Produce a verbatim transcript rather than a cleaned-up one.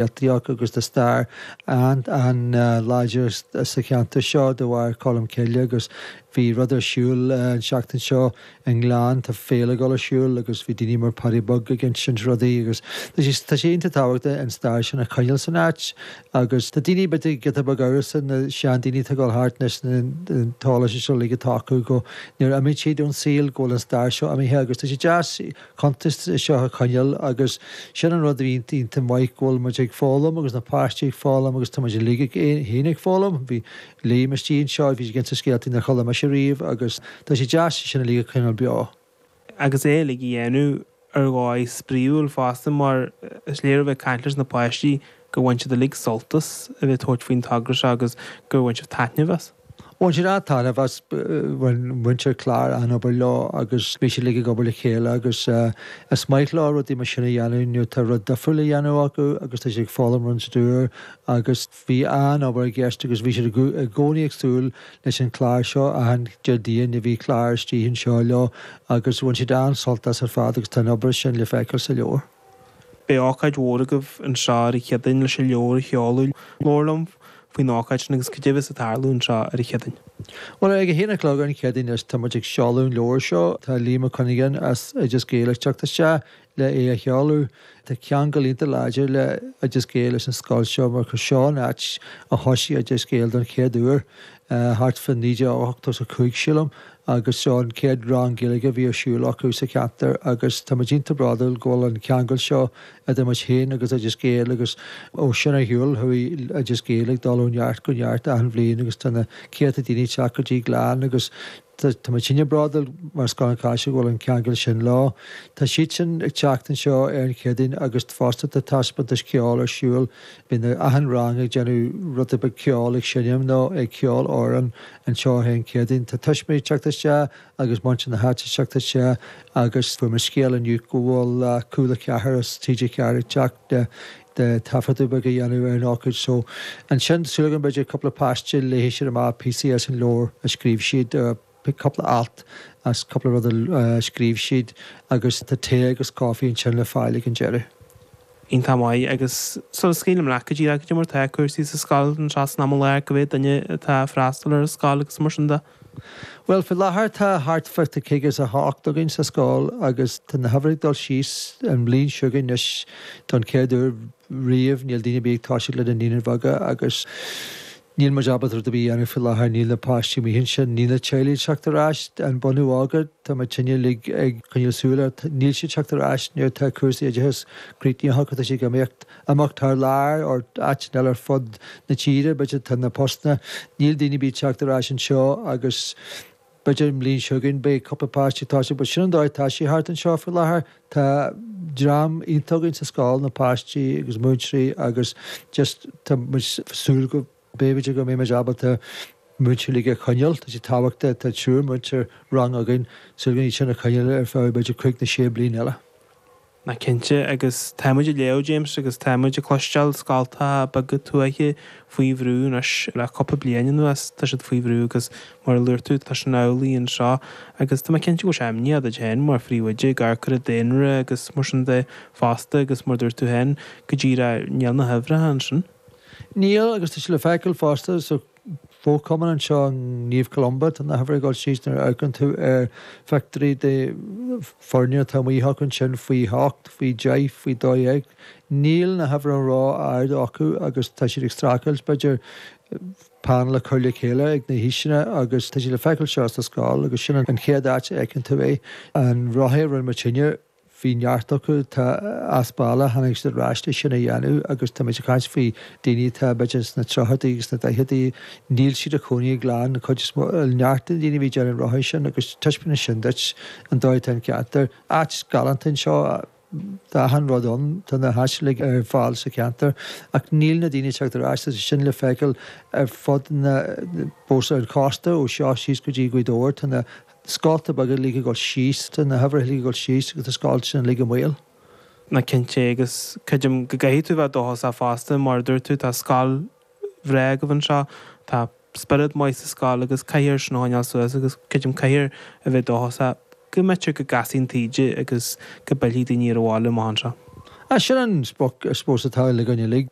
scéaltaí acu agus tá stair an-láidir sa cheantar seo de bharr Colm Cille agus bhí rud ar siúl an seachtain seo i nGleann tá féile ag dul ar siúl agus bhí daoine mar Paddy Beag ag insint rudaí agus tá sé tá sé iontach tábhachtach an stair sin a choinneáil san áit agus tá daoine b'fhéidir giota beag amhrasach na seandaoine atá ag dul thart anois an t-eolas seo uilig atá acu go nuair a imíonn siad ón saol go bhfuil an stair seo imithe agus tá sé deas cuntas seo a choinneáil agus sin an rud a bhí iontach maith go bhfuil muid ag foghlaim agus na páistí ag foghlaim agus tá muid uilig féin ag foghlaim. Bhí Liam istigh anseo bhí ag insint scéaltaí nár chuala mise riamh agus tá sé deas sin uilig a choinneáil beo. Agus é uilig a dhéanamh ar dhóigh spraíúil fosta mar is léir ó bheith ag caint leis na páistí gur bhain siad uilig sult as a bheith ag tabhairt faoin togra seo agus gur bhain siad taitneamh as. Bhain siad an-taitneamh as bhain muintir Clár an-obair leo agus bhí siad uilig ag obair le chéile agus is maith leo rudaí mar sin a dhéanamh nuair atá rud difriúil a dhéanamh acu agus tá siad ag foghlaim rud úr agus bhí an-obair i gceist agus bhí siad i gcónaí ag súil leis an chlár seo achan Déardaoin a bhí clár istigh anseo leo agus bhain siad an-sult as ar fad agus tá an obair sin le feiceáil sa leabhar. Beidh ócáid mhór agaibh anseo ar an Chéadaoin leis an leabhar a sheoladh. Labhair liom faoin ócáid sin agus cad é a bheas ag tarlú anseo ar an Chéadaoin. Bhuel ag a haon a chlog ar an Chéadaoin is tá muid ag seoladh an leabhar seo. Tá Liam Ó Cuinneagáin as Oideas Gael ag teacht isteach le é a sheoladh. Tá ceangal iontach láidir le Oideas Gael leis an scoil seo mar gur seo an áit a thosaigh Oideas Gael don chéad uair thart fá naoi déag ochtó is a cúig sílim agus seo an chéad rang Gaeilge a bhí ar siúl acu sa cheantar agus tá muid iontach bródúil go bhfuil an ceangal seo idir muid féin agus Oideas Gael agus ó sin ar shiúl chuaigh Oideas Gael ag dul ó neart go neart achan bhliain agus tá na céadta daoine ag teacht go dtí Gleann agus tá muid sinne bródúil mar Scoil an Chaisil go bhfuil an ceangal sin leo. Tá siad sin ag teacht anseo ar an Chéadaoin agus fosta tá taispeántas ceoil ar siúl. Bíonn achan rang ag déanamh rud beag ceoil ag seinm nó ag ceol amhrán anseo ar an Chéadaoin. Tá tuismitheoirí ag teacht isteach agus muintir na háite ag teacht isteach agus fuair mé scéal inniu go bhfuil Cúla Ceathair as TG Ceathair ag teacht de de taifeadadh beag a dhéanamh ar an ócáid so ansin súil agam b'fhéidir cúpla páiste léifidh siad amach píosaí as an leabhar a scríobh siad cúpla alt as cúpla rud a scríobh siad agus tá tae agus caife ansin le fáil ag an deireadh. Iontach maith agus sula scaoilim leat go díreach cad é mar tá cúrsaí sa scoil anseo san am i láthair cá mhéad duine atá ag freastal ar an scoil agus mar sin de. Well faoi láthair tá thart fá caoga is a hocht againn sa scoil agus tá na huimhir ag dul síos an bhliain seo chugainn anois don chéad uair riamh níl daoine ar bith ag toiseacht le na naíonáin bheaga agus níl muid ábalta rud ar bith a dhéanamh faoi láthair níl na páistí amuigh ansin níl na teaghlaigh ag teacht ar ais an bunadh óga tá muid sinne uilig ag coinneáil súil air níl siad teacht ar ais nuair atá cúrsaí oideachais críochnaithe acu tá siad ag imeacht amach thar lear or áiteanna eile ar fud na tíre b'fhéidir tá na postanna níl daoine ar bith ag teacht ar ais anseo agus b'fhéidir an bhliain seo chugainn beidh cúpla páistí ag toiseacht but sin an dóigh atá sé thart anseo faoi láthair tá dream iontach againn sa scoil na páistí agus múinteoirí agus just tá muid súil go b'fhéidir go mbeidh muid ábalta múinteoirí uilig a choinneáil tá sé tábhachtach tá triúr múinteoir rang againn súil go iad sin a choinneáil ar feadh b'fhéidir cúig nó sé bliain eile. Ná cinnte agus tá muid ag léamh James agus tá muid ag cloisteáil scoltacha beaga tuaithe faoi bhrú anois le cúpla bliain anuas tá siad faoi bhrú agus mar a luaigh tú tá sin amhlaidh anseo agus tá mé cinnte go bhfuil sé imníoch duit féin mar phríomhoide ag amharc ar an daonra agus mar sin de fosta agus mar dúirt tú féin go díreach níl na huimhreacha ansin. Níl agus tá sé le feiceáil fosta sa fho-chumann anseo Naomh Columba tá na huimhir ag dul síos nuair a amharcann tú ar phictiúirí de foirne atá amuigh acu ansin faoi hocht, faoi deich, faoi dó dhéag. Níl na huimhreacha ró-ard acu agus tá siad ag streachailt b'fhéidir panel a chur le chéile ag na haoiseanna agus tá sé le feiceáil seo sa scoil agus sin an chéad áit a fheiceann tú é. An rothaí a rinne muid sinne bhí neart acu tá as baile tháinig siad ar ais leis sin a dhéanamh agus tá muid ag caint faoi daoine atá b'fhéidir sna tríochaidí agus sna daicheadaí níl siad ina gcónaí i nGleann an chuid is mó neart de na daoine a bhí ag déanamh an rothaí sin agus taispeánann sin duit an dóigh atá an ceantar. Áit galánta anseo tá achan rud ann tá na háiseanna uilig ar fáil sa cheantar ach níl na daoine ag teacht ar ais tá sin le feiceáil ar fud na bós ar an chósta ó seo síos go dtí Gaoth Dobhair tá na scolta beaga uilig ag dul síos tá na huimhreacha uilig ag dul síos agus tá scoilt sin uilig i mbaol. Ná cinnte agus creidim go gcaithfidh tú bheith dóchasach fosta mar a dúirt tú tá scoil bhreá agaibh anseo tá spiorad maith sa scoil agus caithfear sin a choinneáil suas agus creidim caithfear a bheith dóchasach go mb'fhéidir go gcasfaidh an taoide agus go bpillfidh daoine ar an bhaile amach anseo. Sin an sprioc I suppose atá againn uilig.